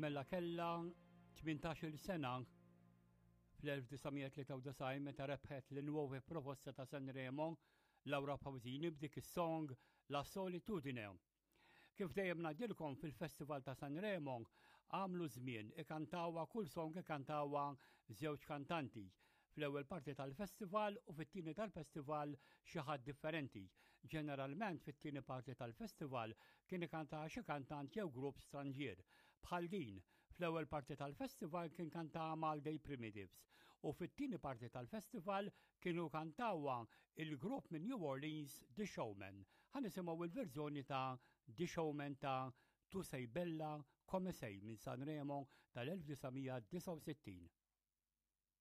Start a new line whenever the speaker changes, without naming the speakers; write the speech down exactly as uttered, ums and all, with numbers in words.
Mela kellha tmintax-il sena fl-elf disa' mija tlieta u disgħin meta rebħet l-Nuove Proposte ta' Sanremo Laura Pausini b'dik is-song La Solitudine. Kif dejjem ngħidilkom, fil-Festival ta' Sanremo għamlu żmien ikantawha, kull song ikantawha żewġ kantanti. Fl-ewwel parti tal-festival u fit-tieni tal-festival xi ħadd differenti. Ġeneralment fit-tieni parti tal-festival kien ikanta xi kantant jew grupp stranġier. Bħal din, fl-ewwel parti tal-festival kien kanta Malday Primitives u fit-tieni parti tal-festival kienu kantawha il-grupp minn New Orleans, The Showman. Ħa nisimgħu il-verżjoni ta' The Showman ta' Tu sei bella come sei minn Sanremo tal-elf disa' mija disgħa u sittin.